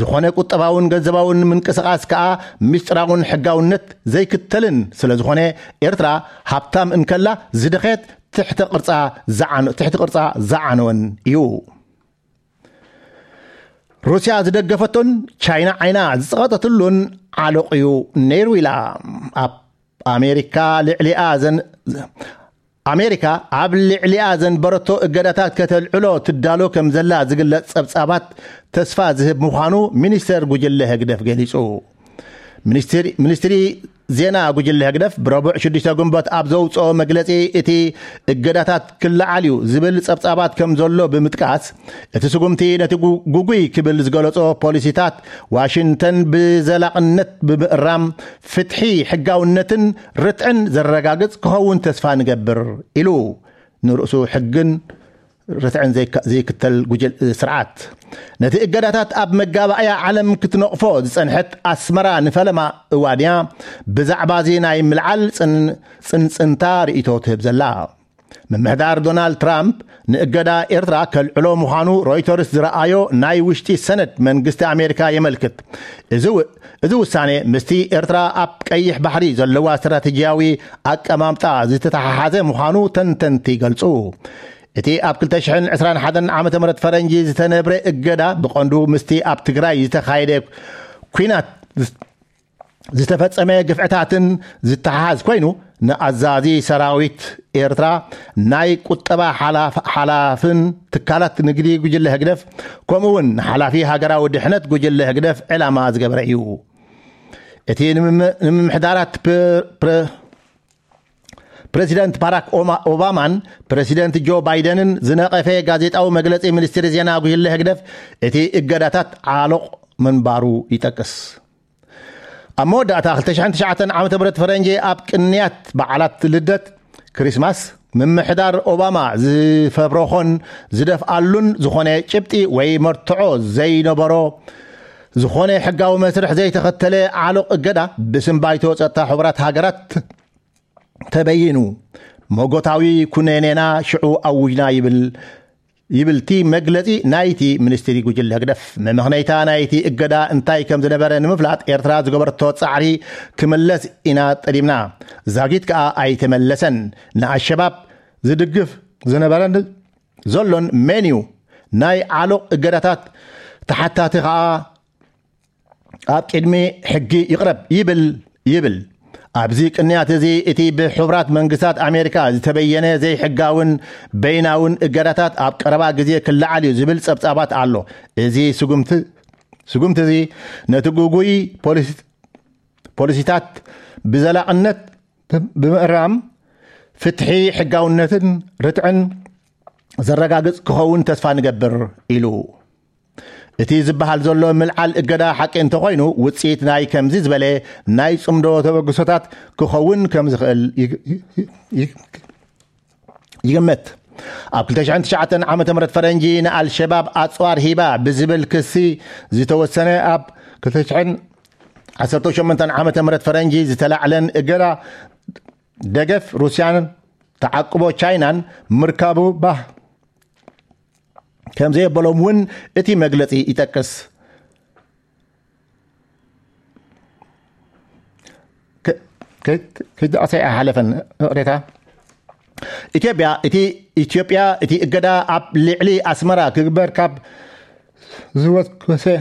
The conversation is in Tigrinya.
ዝኾነ ቁጠባውን ገንዘባውን ምንቅስቓስ ከኣ ምስጢራውን ሕጋውነት ዘይክተልን ስለ ዝኾነ፣ ኤርትራ ሃብታም እንከላ ዝደኸየት ትሕተ ቅርጻ ዝዓነ-፣ ትሕቲ ቅርጻ ዝዓነወን እዩ። ሩስያ ዝደገፈቶን ቻይና ዓይና ዝጸቐጠትሉን ዓሎቕ እዩ ነይሩ ኢላ። ኣብ ኣሜሪካ ልዕሊኣ ዘን-፣ ኣሜሪካ ኣብ ልዕሊኣ ዘንበረቶ እገዳታት ከተልዕሎ ትዳሎ ከም ዘላ ዝግለጽ ጸብጻባት ተስፋ ዝህብ ምዃኑ ሚኒስተር ጉጅለ ህግደፍ ገሊጹ። ሚኒስትሪ፣ ሚኒስትሪ ዜና ጉጅለ ህግደፍ ብረቡዕ ሽዱሽተ ግንቦት ኣብ ዘውፅኦ መግለጺ፣ እቲ እገዳታት ክለዓል እዩ ዝብል ጸብጻባት ከም ዘሎ ብምጥቃስ፣ እቲ ስጉምቲ ነቲ ጉ-፣ ጉጉይ ክብል ዝገለጾ ፖሊሲታት ዋሽንግተን ብዘላቕነት ብምእራም ፍትሒ፣ ሕጋውነትን ርትዕን ዘረጋግጽ ክኸውን ተስፋ ንገብር ኢሉ። ንርእሱ ሕግን ርትዕን ዘይከ-፣ ዘይክተል ጉጅል-፣ ስርዓት። ነቲ እገዳታት ኣብ መጋባእያ ዓለም ክትነቕፎ ዝጸንሐት ኣስመራ ንፈለማ እዋን እያ ብዛዕባ እዚ ናይ ምልዓል ጽን-፣ ጽንጽንታ ርእይቶ ትህብ ዘላ። ምምሕዳር ዶናልድ ትራምፕ ንእገዳ ኤርትራ ከልዕሎ ምዃኑ ሮይተርስ ዝረኣዮ ናይ ውሽጢ ሰነድ መንግስቲ ኣሜሪካ የመልክት። እዚ ው-፣ እዚ ውሳኔ ምስቲ ኤርትራ ኣብ ቀይሕ ባሕሪ ዘለዋ ስትራቴጂያዊ ኣቀማምጣ ዝተተሓሓዘ ምዃኑ ተንተንቲ ይገልጹ። እቲ ኣብ ክልተ ሽሕን ዕስራን ሓደን ዓመተ ምህረት ፈረንጂ ዝተነብረ እገዳ ብቐንዱ ምስቲ ኣብ ትግራይ ዝተኻየደ ኲናት ዝተፈጸመ ግፍዕታትን ዝተሓሓዝ ኮይኑ፣ ንኣዛዚ ሰራዊት ኤርትራ፣ ናይ ቁጠባ ሓላፍ-፣ ሓላፍን ትካላት ንግዲ ጉጅለ ህግደፍ፣ ከምኡ እውን ንሓላፊ ሃገራዊ ድሕነት ጉጅለ ህግደፍ ዕላማ ዝገበረ እዩ። እቲ ንምም-፣ ንምምሕዳራት ፕ-፣ ፕረ-፣ ፕረዚደንት ባራክ ኦማ-፣ ኦባማን ፕረዚደንት ጆ ባይደንን ዝነቐፈ ጋዜጣዊ መግለጺ ሚኒስትሪ ዜና ጉጅለ ህግደፍ፣ እቲ እገዳታት ዓሎቕ ምንባሩ ይጠቅስ። ኣብ መወዳእታ ክልተ ሽሕን ትሽዓተን ዓመተ ምህረት ፈረንጂ ኣብ ቅንያት በዓላት ልደት፣ ክሪስማስ፣ ምምሕዳር ኦባማ ዝፈብረኾን ዝደፍኣሉን ዝኾነ ጭብጢ ወይ መርትዖ ዘይነበሮ፣ ዝኾነ ሕጋዊ መስርሕ ዘይተኸተለ ዓሎቕ እገዳ ብስም ባይቶ ጸጥታ ሕቡራት ሃገራት ተበይኑ። መጎታዊ ኩነኔና ሽዑ ኣውጅና ይብል፣ ይብል እቲ መግለጺ ናይቲ ሚኒስትሪ ጉጅለ ህግደፍ። መመኽነይታ ናይቲ እገዳ እንታይ ከም ዝነበረ ንምፍላጥ ኤርትራ ዝገበረቶ ጻዕሪ ክምለስ ኢና ጠሊብና። ዛጊት ከኣ ኣይተመለሰን። ንኣሸባብ ዝድግፍ ዝነበረን ዘሎን መን እዩ? ናይ ዓሎቕ እገዳታት ተሓታቲ ከኣ ኣብ ቅድሚ ሕጊ ይቕረብ ይብል፣ ይብል። ኣብዚ ቅንያት እዚ እቲ ብሕቡራት መንግስታት ኣሜሪካ ዝተበየነ ዘይሕጋውን በይናውን እገዳታት ኣብ ቀረባ ግዜ ክለዓል እዩ ዝብል ጸብጻባት ኣሎ። እዚ ስጉምቲ፣ ስጉምቲ እዚ ነቲ ግጉይ ፖሊሲ-፣ ፖሊሲታት ብዘላቕነት ብምእራም ፍትሒ፣ ሕጋውነትን ርትዕን ዘረጋግጽ ክኸውን ተስፋ ንገብር ኢሉ። እቲ ዝበሃል ዘሎ ምልዓል እገዳ ሓቂ እንተኾይኑ፣ ውጽኢት ናይ ከምዚ ዝበለ ናይ ጽምዶ ተበግሶታት ክኸውን ከም ዝኽእል ይግ-፣ ይግ-፣ ይግ-፣ ይግመት። ኣብ ክልተ ሽሕን ትሽዓተን ዓመተ ምህረት ፈረንጂ ንኣልሸባብ ኣጽዋር ሂባ ብዝብል ክሲ ዝተወሰነ ኣብ ክልተ ሽሕን ዓሰርተ ሸሞንተን ዓመተ ምህረት ፈረንጂ ዝተላዕለን እገዳ ደገፍ ሩስያን ተዓቅቦ ቻይናን ምርካቡ ባህ ከም ዘየበሎም እውን እቲ መግለጺ ይጠቅስ። ከ-፣ ከ-፣ ከይጠቐሰ ኣይሓለፈን። ይቕሬታ። ኢትዮጵያ፣ እቲ፣ ኢትዮጵያ እቲ እገዳ ኣብ ልዕሊ ኣስመራ ክግበር ካብ ዝወሰ-፣